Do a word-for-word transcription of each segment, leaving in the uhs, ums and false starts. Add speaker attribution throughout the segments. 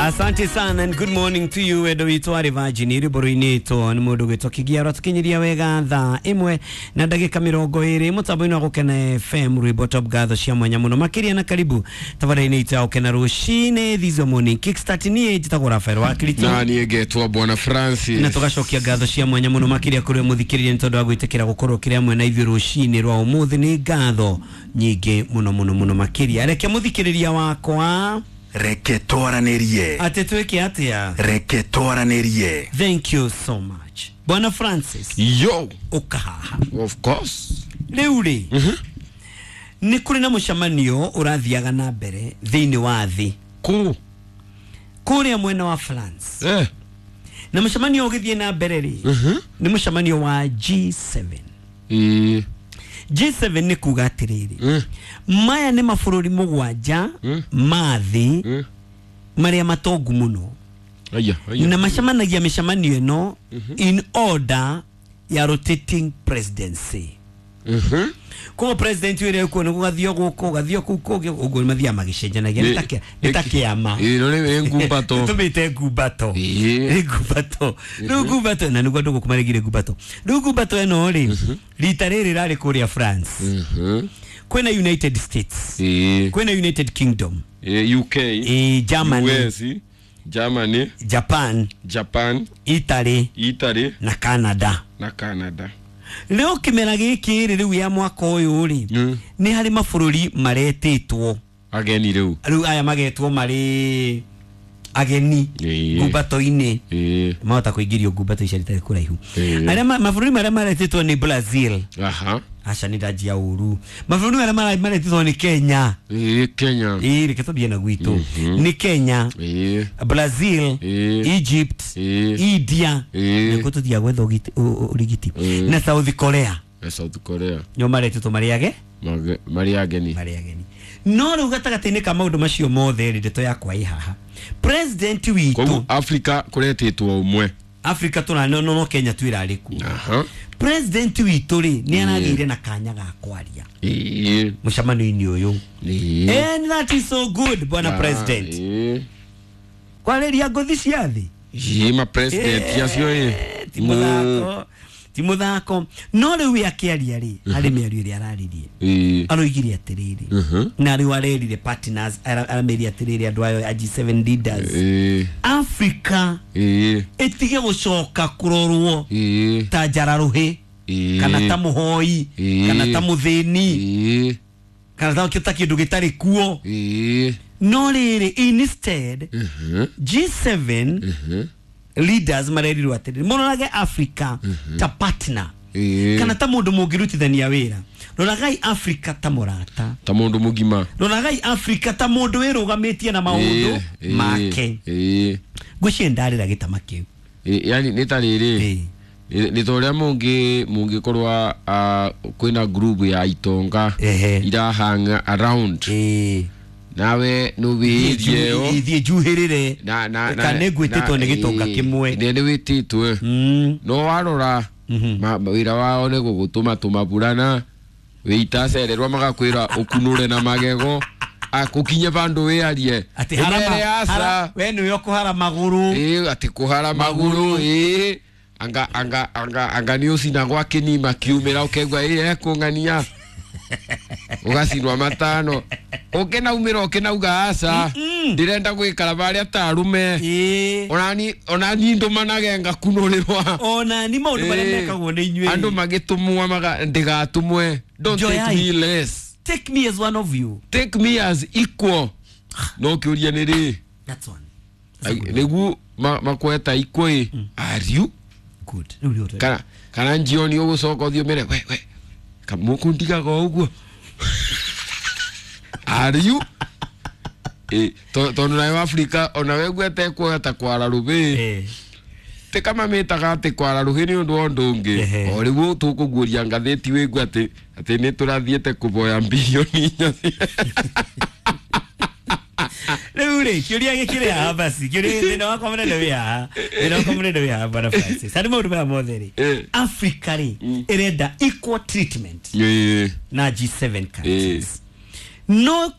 Speaker 1: Asante sana and good morning to you wendo witũ arĩ Virgin rwĩmbo rũinĩtwo nĩ mũndũ gwĩtwo Kĩgiaro tũkinyiria wega thaa ĩmwe na ndagĩka mĩrongo ĩrĩ mũtambo-inĩ wa Gũkena F M rwĩmbo top ngatho cia mwanya mũno makĩria na karibu tabarĩra-inĩ itũ ya Gũkena rũcinĩ this morning kickstart niĩ njĩtagwo Rafael wa Kirito
Speaker 2: na niĩ ngetwo Bwana Francis
Speaker 1: na tũgacokia ngatho cia mwanya mũno makĩria kũrĩ mũthikĩrĩria nĩ tondũ wa gwĩtĩkĩra gũkorwo kĩrĩ hamwe na ithuĩ rũcinĩ rwa ũmũthĩ nĩ ngatho nyingĩ mũno mũno mũno makĩria reke mũthikĩrĩria wakwa
Speaker 3: reke twaranĩrie
Speaker 1: atĩ twĩke atĩa
Speaker 3: reke twaranĩrie.
Speaker 1: Thank you so much Bwana Francis.
Speaker 2: Yo,
Speaker 1: ũkahaha
Speaker 2: of course.
Speaker 1: Rĩu rĩ nĩ kũrĩ na mũcemanio ũrathiaga na mbere thĩinĩ wa thĩ
Speaker 2: kũ
Speaker 1: kũrĩa mwena wa France
Speaker 2: eh
Speaker 1: na mũcemanio ũgĩthiĩ na mbere rĩ nĩ mũcemanio wa G seven.
Speaker 2: Eh
Speaker 1: G seven nĩ kuga atĩrĩrĩ
Speaker 2: mm.
Speaker 1: maya nĩ mabũrũri mũgwanja
Speaker 2: mm.
Speaker 1: ma thĩ
Speaker 2: mm.
Speaker 1: marĩa matongu mũno
Speaker 2: aya aya
Speaker 1: na macemanagia mĩcemanio ĩno
Speaker 2: mm -hmm.
Speaker 1: in order ya rotating presidency.
Speaker 2: mm -hmm.
Speaker 1: Koguo president ũrĩa ũkuo nĩ gũgathio gũkũ gũgathio kũu kũngĩ ũguo mathiaga magĩcenjanagia nĩ ta kĩa- nĩ ta kĩama
Speaker 2: ĩno nĩ ngumbato
Speaker 1: tũmĩte ngumbato
Speaker 2: Ĩĩ.
Speaker 1: nĩ ngumbato rĩu ngumbato na nĩguo andũ gũkũ maregire ngumbato rĩu ngumbato ĩno rĩ rita rĩrĩ rarĩ kũrĩa France
Speaker 2: Mhm.
Speaker 1: kwĩna United States
Speaker 2: Ĩĩ.
Speaker 1: kwĩna United Kingdom
Speaker 2: Ĩĩ, U K
Speaker 1: ĩĩ, Germany
Speaker 2: U S Germany
Speaker 1: Japan
Speaker 2: Japan
Speaker 1: Italy
Speaker 2: Italy
Speaker 1: na Canada
Speaker 2: na Canada.
Speaker 1: Rĩu kĩmera gĩkĩ rĩ rĩu ya mwaka ũyũ rĩ
Speaker 2: Mm.
Speaker 1: nĩ harĩ mabũrũri maretĩtwo
Speaker 2: ageni rĩu
Speaker 1: rĩu aya magetwo marĩ ageni
Speaker 2: Ĩĩ.
Speaker 1: ngumbato-inĩ
Speaker 2: Ĩĩ.
Speaker 1: mahota kũingĩrio ngumbato icio itarĩ kũraihu
Speaker 2: Ĩĩ.
Speaker 1: arĩa ma- mabũrũri marĩa maretĩtwo nĩ Brazil
Speaker 2: aha
Speaker 1: aca nĩ ndanjia ũru mabũrũri marĩa mara- maretĩtwo nĩ Kenya
Speaker 2: Ĩĩ, Kenya
Speaker 1: ĩĩ reke tũthiĩ na gwitũ nĩ Kenya
Speaker 2: Ĩĩ.
Speaker 1: Brazil
Speaker 2: Ĩĩ.
Speaker 1: Egypt
Speaker 2: Ĩĩ.
Speaker 1: India
Speaker 2: Ĩĩ.
Speaker 1: nĩkuo tũthiaga gwetha ũgiti- ũ- ũ- ũrigiti
Speaker 2: Ĩĩ.
Speaker 1: na South Korea
Speaker 2: na South Korea
Speaker 1: nĩo maretĩtwo marĩ age
Speaker 2: Mage- marĩ ageni
Speaker 1: marĩ ageni no rĩu gatagatĩ-inĩ ka maũndũ macio mothe rĩ ndeto yakwa ĩ haha president witũ
Speaker 2: koguo Africa kũretĩtwo ũmwe
Speaker 1: Africa tũra no no Kenya twĩrarĩ kuo
Speaker 2: aha
Speaker 1: president witũ rĩ nĩ aragĩire na kanya ga kwaria
Speaker 2: Ĩĩ.
Speaker 1: mũcemanio-inĩ ũyũ
Speaker 2: Ĩĩ.
Speaker 1: and that is so good bwana
Speaker 2: Ah,
Speaker 1: president
Speaker 2: ĩĩ.
Speaker 1: kwarĩria ngothi cia thĩ
Speaker 2: Ĩĩ, ma president acio ĩ
Speaker 1: ti mũthako ti mũthako no rĩu we akĩaria rĩ harĩ mĩario ĩrĩa araririe
Speaker 2: Ĩĩ.
Speaker 1: aroigire atĩrĩrĩ
Speaker 2: Mhm.
Speaker 1: na rĩu arerire partners ara- aramerire atĩrĩrĩ andũ ayo a G seven leaders
Speaker 2: Ĩĩ.
Speaker 1: Africa
Speaker 2: Ĩĩ.
Speaker 1: ĩtige gũcoka kũrorwo
Speaker 2: Ĩĩ.
Speaker 1: ta njararũhĩ
Speaker 2: Ĩĩ.
Speaker 1: kana ta mũhoi
Speaker 2: Ĩĩ.
Speaker 1: kana ta mũthĩni
Speaker 2: Ĩĩ.
Speaker 1: kana ta ta kĩndũ gĩtarĩ kuo
Speaker 2: Ĩĩ.
Speaker 1: no rĩrĩ instead
Speaker 2: Mhm.
Speaker 1: G seven
Speaker 2: Mhm.
Speaker 1: leaders marerirwo atĩrĩrĩ mũrorage Africa ta partner
Speaker 2: Ĩĩ.
Speaker 1: kana ta mũndũ mũngĩrutithania wĩra roragai Africa ta mũrata
Speaker 2: ta mũndũ mũgima
Speaker 1: roragai Africa ta mũndũ wĩrũgamĩtie na maũndũ
Speaker 2: Ĩĩ, ĩĩ,
Speaker 1: make
Speaker 2: ĩĩ.
Speaker 1: ngwĩciria ndarĩra gĩtama kĩu
Speaker 2: Ĩĩ, yani nĩ ta rĩrĩ
Speaker 1: Ĩĩ.
Speaker 2: nĩ nĩ ta ũrĩa mũngĩ mũngĩkorwo ah, kwĩna group ya itonga
Speaker 1: Ehe.
Speaker 2: irahanga around
Speaker 1: Ĩĩ.
Speaker 2: nawe nũwĩrie ĩyo
Speaker 1: thiĩ njuhĩrĩre
Speaker 2: na na na
Speaker 1: kana nĩngwĩtĩtwo nĩ gĩtonga
Speaker 2: ĩĩ,
Speaker 1: kĩmwe
Speaker 2: nĩ nĩ wĩtĩtwo
Speaker 1: Mm.
Speaker 2: no warora
Speaker 1: Mhm.
Speaker 2: ma- ma- wĩra wao nĩ gũgũtũma tũmaburana wĩitacererwo magakwĩra ũkunũre na magego akũkinye vandũ wĩarie
Speaker 1: atĩ harama
Speaker 2: Ũmere aca
Speaker 1: hara- we nĩwe ũkũhara magũrũ
Speaker 2: ĩĩ atĩ kũhara magũrũ ĩĩ anga anga anga anga nĩ ũcinagwo akĩnima kiumĩra ũkaigua ĩĩ ekũng'ania ũgacinwa matano ũkĩnaumĩra ũkĩnauga aca ndĩrenda gwĩkara barĩa ta arume
Speaker 1: Ĩĩ.
Speaker 2: onani onani ndũmanage ngakunũrĩrwa
Speaker 1: ona ni maũndũ marĩa
Speaker 2: Ĩĩ.
Speaker 1: mekagwo nĩ inyuĩ
Speaker 2: andũ magĩtũmwa maga ndĩgatũmwe don't take
Speaker 1: Njoyai.
Speaker 2: me less
Speaker 1: take me as one of you
Speaker 2: take me as equal no kĩũria nĩ rĩ
Speaker 1: that's one
Speaker 2: nĩguo ma- makweta equal ĩ are you
Speaker 1: good rĩu nĩho tũrĩ.
Speaker 2: kana kana njioni ũgũcoka ũthiĩ ũmere we we kamũkũndigaga o ũguo are you Ĩ, to- tondũ nayo Africa onawe gwete kuota kwara rũbĩ
Speaker 1: Ĩĩ.
Speaker 2: ti kama mĩtaga atĩ kwara rũhĩ nĩ ũndũ wa ũndũ ũngĩ
Speaker 1: Ehe.
Speaker 2: o rĩu tũkũguũria ngathĩti wĩigua atĩ atĩ nĩ tũrathiĩte kũboya bilioni inya
Speaker 1: rĩu rĩ kĩũria gĩkĩrĩ haha basi kĩũria thĩna wakwa mũnene wĩ haha thĩna wakwa mũnene wĩ haha bwana Francis harĩ maũndũ maya mothe rĩ
Speaker 2: Ĩĩ.
Speaker 1: Africa rĩ ĩrenda equal treatment
Speaker 2: Ĩĩ.
Speaker 1: na G seven countries no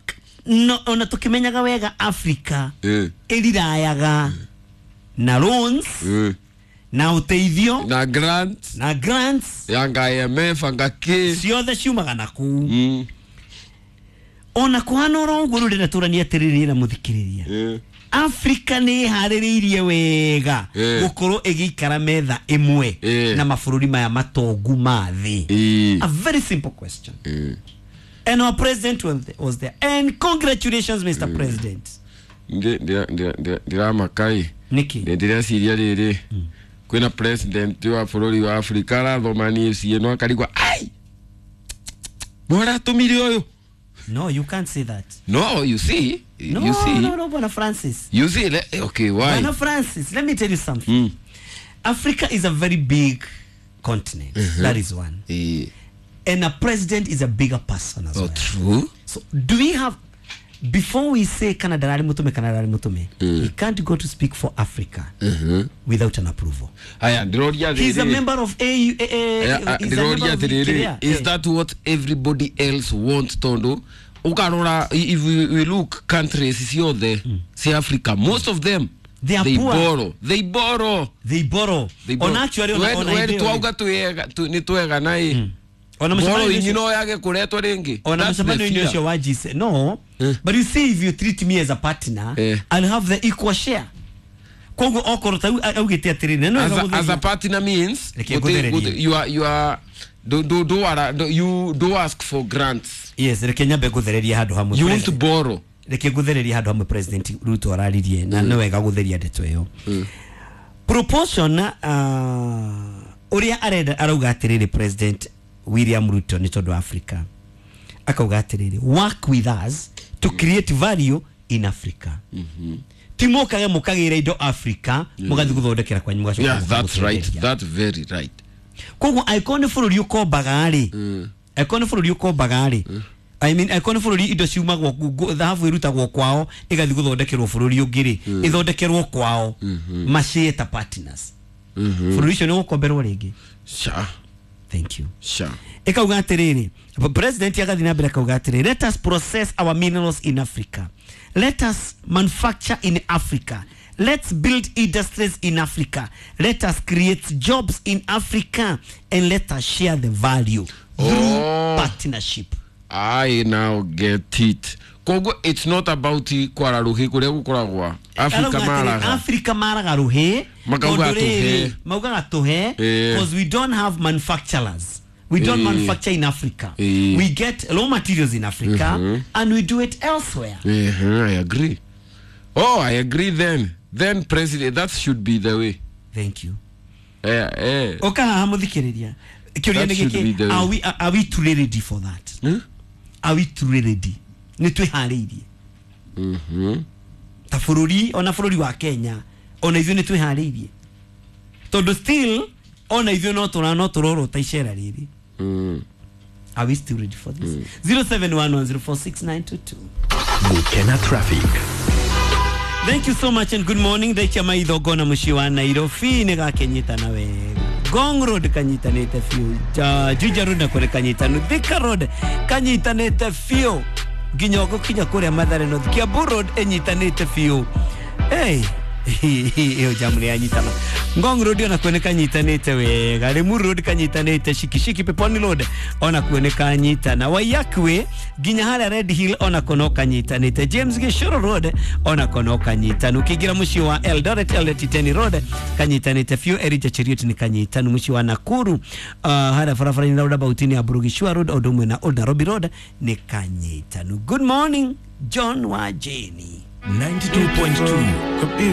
Speaker 1: No ona tukimenyaga wega Africa
Speaker 2: Eh.
Speaker 1: ĩrirayaga na loans
Speaker 2: Eh.
Speaker 1: na ũteithio
Speaker 2: Na grants
Speaker 1: na grants
Speaker 2: yanga I M F anga K.
Speaker 1: ciothe ciumaga na kuu.
Speaker 2: Mm.
Speaker 1: Ona kuhana oro ũguo rĩu ndĩrenda tũranie atĩrĩrĩ na mũthikĩrĩria.
Speaker 2: Eh.
Speaker 1: Africa nĩ ĩharĩrĩirie wega
Speaker 2: Eh.
Speaker 1: gũkorwo ĩgĩikara metha ĩmwe
Speaker 2: Eh.
Speaker 1: na mabũrũri maya matongu ma thĩ.
Speaker 2: Eh.
Speaker 1: A very simple question.
Speaker 2: Eh.
Speaker 1: And our president was there, was there. And congratulations, Mister Mm. President.
Speaker 2: Ndĩramakai.
Speaker 1: Niki.
Speaker 2: Ndĩreciria rĩrĩ kwĩna president wa bũrũri wa Africa arathoma niĩ ĩno akarigwa ai mwaratũmire ũyũ.
Speaker 1: No, you can't say that.
Speaker 2: No, you see,
Speaker 1: No,
Speaker 2: you see,
Speaker 1: no, no, Bwana Francis.
Speaker 2: You see, le, okay, why?
Speaker 1: Bwana Francis, let me tell you something.
Speaker 2: Mm.
Speaker 1: Africa is a very big continent.
Speaker 2: Mm-hmm.
Speaker 1: That is one.
Speaker 2: Eh.
Speaker 1: And a president is a bigger person as
Speaker 2: Oh,
Speaker 1: well.
Speaker 2: true.
Speaker 1: So do we have, before we say Canada rari mutume, Canada rari mutume,
Speaker 2: Mm.
Speaker 1: he can't go to speak for Africa
Speaker 2: Mm-hmm.
Speaker 1: without an approval.
Speaker 2: Aya, ndĩroria
Speaker 1: He's a
Speaker 2: rĩrĩ.
Speaker 1: member of A U.
Speaker 2: Eh, ah,
Speaker 1: He's a member
Speaker 2: ndĩroria
Speaker 1: of
Speaker 2: atĩrĩrĩ,
Speaker 1: Kenya.
Speaker 2: is
Speaker 1: Eh.
Speaker 2: that what everybody else wants tondu ukarora if we, we look countries ciothe cia Africa, most of them
Speaker 1: They are
Speaker 2: they
Speaker 1: poor.
Speaker 2: borrow they borrow
Speaker 1: They borrow.
Speaker 2: they borrow.
Speaker 1: On actually on
Speaker 2: When-
Speaker 1: on
Speaker 2: when
Speaker 1: idea.
Speaker 2: twauga twega tu- nĩ twega na ĩ
Speaker 1: Ona
Speaker 2: borrow
Speaker 1: mũcemanio
Speaker 2: inyi no yage kuretwo ringi.
Speaker 1: Ona
Speaker 2: That's the
Speaker 1: mũcemanio-inĩ
Speaker 2: fear.
Speaker 1: ũcio wa G seven. No,
Speaker 2: Eh.
Speaker 1: but you see if you treat me as a partner,
Speaker 2: Eh.
Speaker 1: I'll have the equal share. Koguo okorwo ta augĩte atĩrĩrĩ, na no
Speaker 2: as
Speaker 1: wega
Speaker 2: a, as a
Speaker 1: gũtheria.
Speaker 2: partner means
Speaker 1: Reke
Speaker 2: gũti-
Speaker 1: ngũthererie.
Speaker 2: gũti- you are you are do do do ara do, you do ask for grants.
Speaker 1: Yes, reke nyambe ngũthererie handũ hamwe.
Speaker 2: You want to
Speaker 1: President.
Speaker 2: borrow.
Speaker 1: Reke ngũthererie handũ hamwe President Ruto araririe na nĩ wega gũtheria ndeto ĩyo. Proportion uh, ũrĩa arenda arauga atĩrĩrĩ President William Ruto nĩ tondũ wa Africa. Akauga atĩrĩrĩ, work with us to create value in Africa. Ti mũkage mũkagĩra indo Africa mũgathiĩ gũthondekera kwanyu mũgacoka
Speaker 2: Yeah, that's right,
Speaker 1: mũgatwenderia.
Speaker 2: that's very right.
Speaker 1: Koguo angĩkorwo nĩ bũrũri ũkombaga rĩ, angĩkorwo nĩ bũrũri ũkombaga rĩ, I mean angĩkorwo nĩ bũrũri indo ciumagwo gu- thahabu ĩrutagwo kwao ĩgathiĩ gũthondekerwo bũrũri ũngĩ rĩ, ĩthondekerwo kwao macĩe ta partners. Bũrũri ũcio nĩ ũgũkomberwo rĩngĩ.
Speaker 2: Sha
Speaker 1: Thank you.
Speaker 2: sha
Speaker 1: Ĩkauga atĩrĩrĩ, president agathiĩ na mbere akauga atĩrĩrĩ, let us process our minerals in Africa, let us manufacture in Africa, let's build industries in Africa, let us create jobs in Africa, and let us share the value through
Speaker 2: Oh.
Speaker 1: partnership.
Speaker 2: I now get it. Koguo it's not about kwara ruhi kuria gukoragwa Africa
Speaker 1: Arauga atĩrĩ,
Speaker 2: maraga.
Speaker 1: Africa maraga ruhi
Speaker 2: Makauga
Speaker 1: tondũ rĩrĩ,
Speaker 2: tũhe.
Speaker 1: maugaga tũhe
Speaker 2: Eh.
Speaker 1: because we don't have manufacturers. We don't
Speaker 2: Eh.
Speaker 1: manufacture in Africa.
Speaker 2: Eh.
Speaker 1: We get raw materials in Africa and we do it elsewhere.
Speaker 2: Uh-huh, I agree. Oh, I agree then. Then president, that should be the way.
Speaker 1: Thank you.
Speaker 2: Eh, eh.
Speaker 1: Oka haha mũthikĩrĩria kĩũria
Speaker 2: That
Speaker 1: nĩ
Speaker 2: should be
Speaker 1: gĩkĩ,
Speaker 2: the way.
Speaker 1: are we, are we truly ready for that?
Speaker 2: Hmm?
Speaker 1: Are we truly ready? Nĩ twĩharĩirie
Speaker 2: Mhm.
Speaker 1: ta bũrũri, ona bũrũri wa Kenya, ona ithuĩ nĩ twĩharĩirie tondũ still ona ithuĩ no tũra no tũrorota icera rĩrĩ.
Speaker 2: Mm.
Speaker 1: Are we still ready for this? zero seven one one zero four six nine two two.
Speaker 3: Gukena Traffic.
Speaker 1: Thank you so much and good morning. Ndaikia maitho ngona mũciĩ wa Nairobi nĩ gakenyitana wega. Ngong Road kanyitanĩte biũ, Ja- Juja Road nakuo nĩ kanyitanu, Thika Road kanyitanĩte biũ nginya ũgũkinya kũrĩa Mathare North. Kiambu Road ĩnyitanĩte biũ. Hey, ĩyo jamu nĩ yanyitana. Ngong Road onakuo nĩ kanyitanĩte wega, Limuru Road kanyitanĩte, Shikishiki Peponi Road onakuo nĩ kanyitana, Waiyaki Way nginya harĩa Red Hill onako no kanyitanĩte, James Gishuru Road onako no kanyitanu, ũkĩingĩra mũciĩ wa Eldoret Eldoret Iten Road kanyitanĩte biũ, Elijah Cheruiyot nĩ kanyitanu, mũciĩ wa Nakuru uh, harĩa barabara-inĩ roundabout-inĩ ya Burugishua Road o ũndũ ũmwe na Old Nairobi Road nĩ kanyitanu. Good morning John wa Jane.
Speaker 3: ninety-two point two.